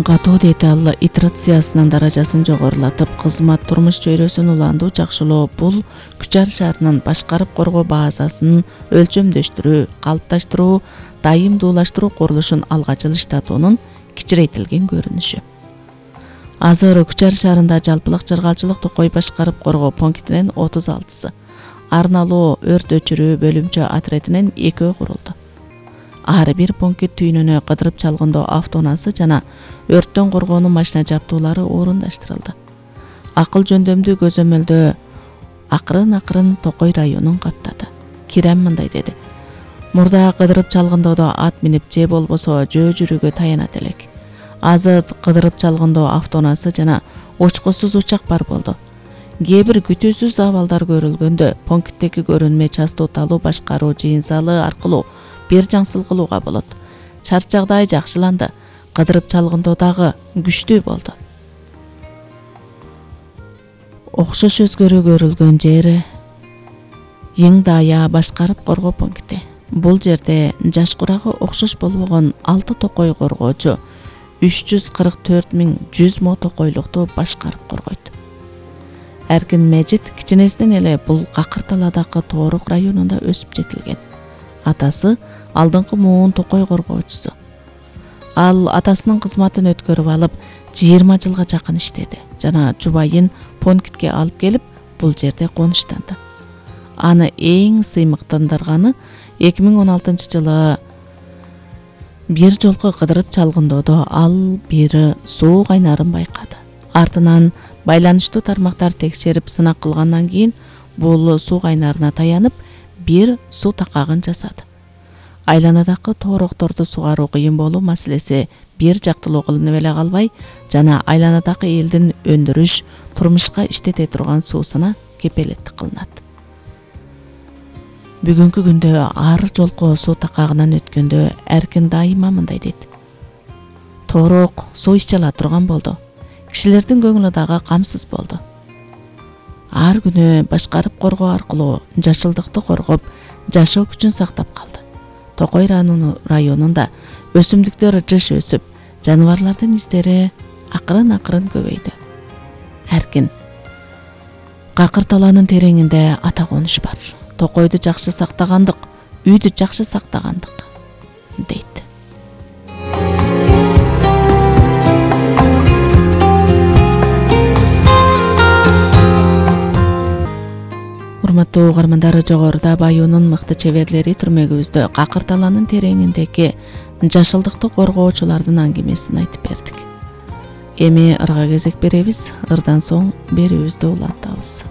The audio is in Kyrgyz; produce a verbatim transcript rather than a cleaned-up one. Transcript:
Катуу деталь итерациясынын даражасын жогорулатып, кызмат турмуш чөйрөсүн уландуу жакшылоо бул Күчар шаарынын башкарып коргоо базасын өлчөмдөштүрүү, калыпташтыруу, дайымдуулаштыруу курулушун алга жылыштатуунун кичирейтилген көрүнүшү. Азыр Күчар шаарында жалпылык чыргалчылык токой башкарып коргоо пунктинин отуз алтысы, арналуу өрт өчүрүү бөлүмчө отрядынын экөө курулду. Ар бир пункт түйүнүнө кыдырып чалгындоо автоунасы жана өрттөн коргоонун машина жабдуулары орундаштырылды. Акыл жөндөмдүү көзөмөлдөө акырын-акырын Токой районун каптады. Кирем мындай деди: мурда кыдырып чалгындоодо ат минип же болбосо жөө жүрүүгө таянат элек. Азыр кыдырып чалгындоо автоунасы жана учкусуз учак бар болду. Кээ бир күтүүсүз абалдар көрүлгөндө пункттеги көрүнмө частоталуу башкаруу жыйын залы аркылуу бир жаңсыл кылууга болот. Шарт жагдай жакшыланды. Кыдырып чалгындоо дагы күчтүү болду. Окшош өзгөрүү көрүлгөн жери Эң Дая башкарып коргоо пункти. Бул жерде жаш курагы окшош болбогон алты токой коргоочу үч жүз кырк төрт миң жүз мо токойлукту башкарып коргойт. Эркин Мejit кичинесинен эле бул какыр талаадагы Тоорук районунда өсүп жетилген. Атасы алдыңкы муун токой коргоочусу. Ал атасынын кызматын өткөрүп алып, жыйырма жылга жакын иштеди жана жубайын пунктке алып келип, бул жерде конуштанды. Аны эң сыймыктандырганы эки миң он алтынчы жылы бир жолку кыдырып чалгындоодо ал бир суу кайнарын байкады. Артынан байланыштуу тармактар текшерип сынак кылгандан кийин бул суу кайнарына таянып бир суу такагын жасады. Айланадагы тоорокторду сугаруу кыйын болуу маселеси бир жактылуу кылынып эле калбай, жана айланадагы элдин өндүрүш, турмушка иштете турган суусуна кепелеттик кылынат. Бүгүнкү күндө ар жолку суу такагынан өткөндө Эркин дайыма мындай дейт: Тоорок суу иче ала турган болду. Кишилердин көңүлү дагы камсыз болду. Ар күнү башкарып коргоо аркылуу жашылдыкты коргоп, жашоо күчүн сактап калды. Токой районунда өсүмдүктөр жыш өсүп, жаныбарлардын издери акырын-акырын көбөйдү. Эркин: какыр талаанын тереңинде ата конуш бар. Токойду жакшы сактагандык, үйдү жакшы сактагандык, дейт. Урматтуу угармандар, жогоруда Баюунун мыкты чеберлери түрмөгүбүздө какыр талаанын тереңиндеги жашылдыкты коргоочулардын аңгемесин айтып бердик. Эми ырга кезек беребиз. Ырдан соң берүүбүздү улантабыз.